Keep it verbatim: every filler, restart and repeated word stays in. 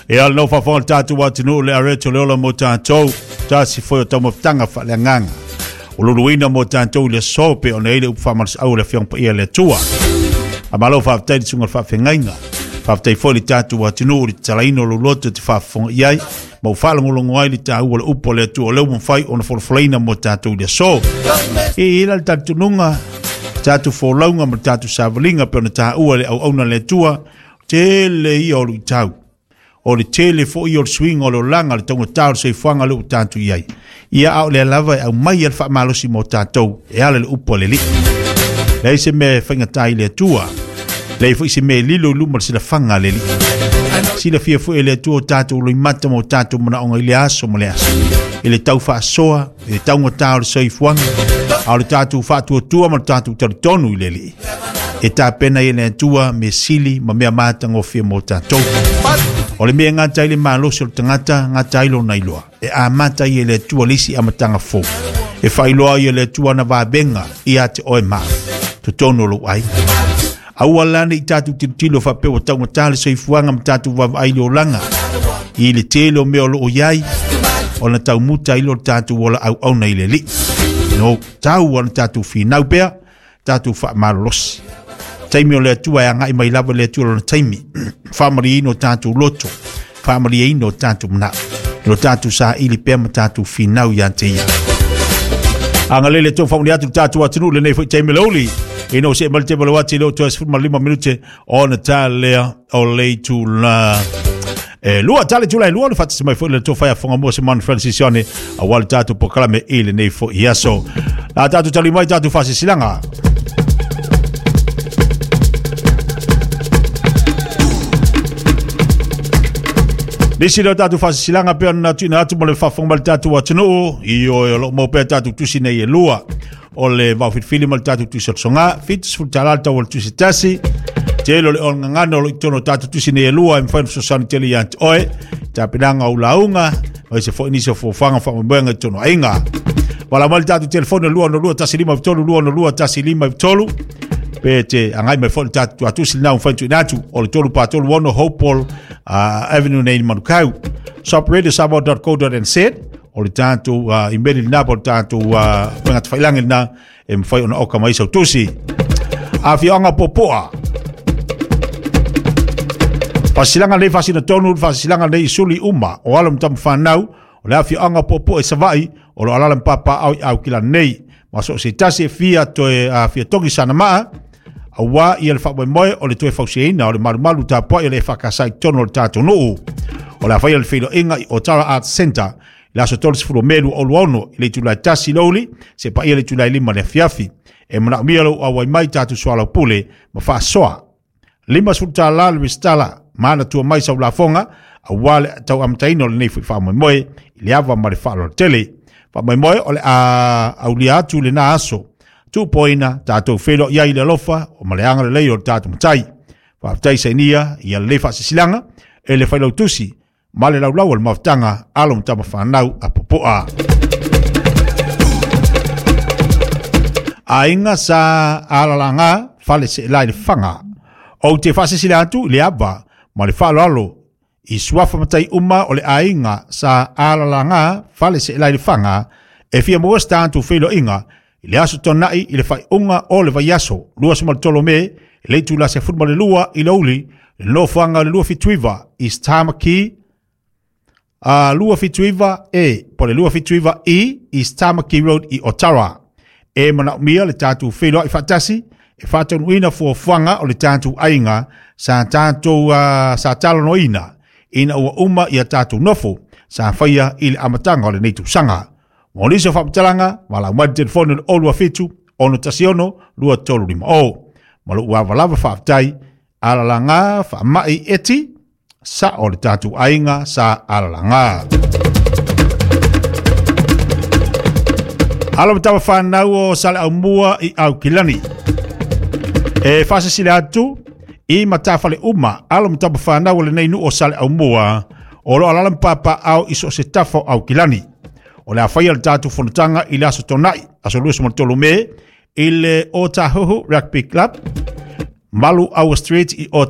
E al no faafofoga le tatou atunuu le areto le ola mo tatou tasi foi o taumafataga faaleagaga o luluina mo tatou i le aso pe ona i le upu faamalosiau o le Afioga Paia le Atua. Faamalo faafetai i le susuga i le faafeagaiga. Faafetai foi i le tatou atunuu i le tatalaina o lou loto e te faafofoga i ai ma ua faalogologo ai le taua o le upu a le Atua o lea ua mafai ona folafolaina mo tatou i le aso. E i ai la le talitonuga, tatou folauga ma le tatou savaliga pe ona taua le auauna le Atua, tele ia o luitau. O le tele foi o le suiga o le olaga, le taugata o le soifuaga lea ua tatou i ai. Ia a o lea lava e aumai ai le faamalosi mo tatou e ala i le upu a le Alii. Leai se mea e faigata i le Atua. Leai foi se mea e lilo i luma o le silafaga a le Alii. Silafia foi e le Atua o tatou loimata ma o tatou manaoga i le aso ma le aso. I le tau faasoa, i le taugata o le soifuaga, a o le tatou faatuatua ma le tatou talitonu i le Alii. E tapena i le Atua mea sili ma mea matagofie mo tatou. O le mea e gata ai le malosi o le tagata, gata ai lona iloa. E amata ai e le Atua le isi amataga fou. E faailoa ai e le Atua ana vavega ia te oe ma totonu o lou aiga. Aua la ne i tatou tilotilo faapea ua taugata le soifuaga ma tatou vaavaai i le olaga i le tele o mea o loo i ai ona taumuta ai lo tatou ola auauna i le Alii. No tau ona tatou finau pea, tatou faamalolosi. Taimi o le Atua e agai mai lava le Atua lona taimi. Faamalieina o tatou loto, faamalieina o tatou manao, lo tatou saili pea ma tatou finau ia te ia. Agalelei le tou faamanuia atu le tatou atunuu lenei foi taimi leuli. Ina o se mal te malo ati le o toe sefulu ma lima minute ona tā lea o le itula e lua tale tula e lua le faatasi mai foi le tofa ia fonga mua se man Francis Sione aua le tatou polokalame i lenei foi aso. La tatou tali mai tatou faasilasilaga. Nisi leo tatou faasilasilaga pe ona tuuina atu mo le faafofoga mai le tatou atunuu i o o loo maua pea tatou tusi nei e lua o le vaofilifili ma le tatou tusi o le soga fitu sefulu tala le tau o le tusi tasi tele o le ologagana o lo i totonu o tatou tusi nei e lua e mafai ona fesoasoani tele ia te oe tapenaga o lauga o se foi nisi o fofoga faamoemoega i totonu o aiga. Wala mai le tatou telefone lua ono lua tasi lima tolu lua ono lua tasi lima tolu pe te agai mai foi le tatou tuatusi lena ua mafai ona tuuina atu o le tolu pa tolu ono Hopewell uh, Avenue nei i Manukau. shop radio samoa dot co dot n z o le tatou uh, email lena po o le tatou uh, faiga lena e mafai ona oka mai sau tusi. Afioaga Popoa. Faasilasilaga nei faasina tonu, faasilasilaga nei suli uma o alo ma tama fanau o le afioaga Popoa i Savaii o lo alala ma papaaao i Aukila nei. Ma so se tasi e fia toe uh, fia togi sana maa aua ia le faamoemoe o le toe fausiaina o le malumalu tapuai o le faakasai tonu o le tatou nuu. O le afaia le feiloaiga i Otara Arts Centre i le aso tolusefulu o Me lua olu ono i le itula e tasi louli se paia le itula e lima le afiafi. E manaomia lou auai mai tatou soalaupule ma faasoa. Lima sefulu tala le resitala ma ana tua mai sau lafoga aua le tau amataina o lenei foi faamoemoe i le ava ma le faaaloalo tele. Faamoemoe o le a aulia atu lena aso. Tuupoina tatou feiloai ai i le alofa o ma le agalelei o le tatou matai. Faafetai sainia ia lelei faasilasilaga e le failautusi ma le laulau o le mafutaga alo ma tama fanau a Popoa. Aiga sa alalaga fale seelai le faga. Ou te faasilasila atu i le ava ma le faaaloalo i suafa matai uma o le aiga sa alalaga fale seelai le faga e fia maua se tatou feiloaiga i le aso Tona'i i le faaiuga o le vaiaso luasefulu ma le tolu o Me i le itula sefulu ma le lua i le aoauli le nofoaga o le lua fitu iva East Tamaki uh, lua fitu iva E po le lua fitu iva E East Tamaki Road i Otara. E manaomia le tatou feiloai faatasi e faataunuuina fuafuaga o le tatou aiga sa tatou uh, sa talanoaina ina ua uma ia tatou nofo sa faia i le amataga o lenei tausaga. Mo nisi o faamatalaga, valaau mai le telefone o le olu fitu ono tasi ono lua tolu lima o. Ma lou ava lava faafetai alalaga faamai eti sa o le tatou aiga sa alalaga. Alo ma tama whanau o Sale Aumua i Aukilani. E faasilasila atu i matafale uma alo ma tama whanau o lenei nuu o Sale Aumua o lo alala ma papaaao i so o se tafa o Aukilani. O le a faia le tatou fonotaga i le aso Tona'i, aso luasefulu ma le tolu Me, i le Otahuhu Rugby Club, Malu Aua Street i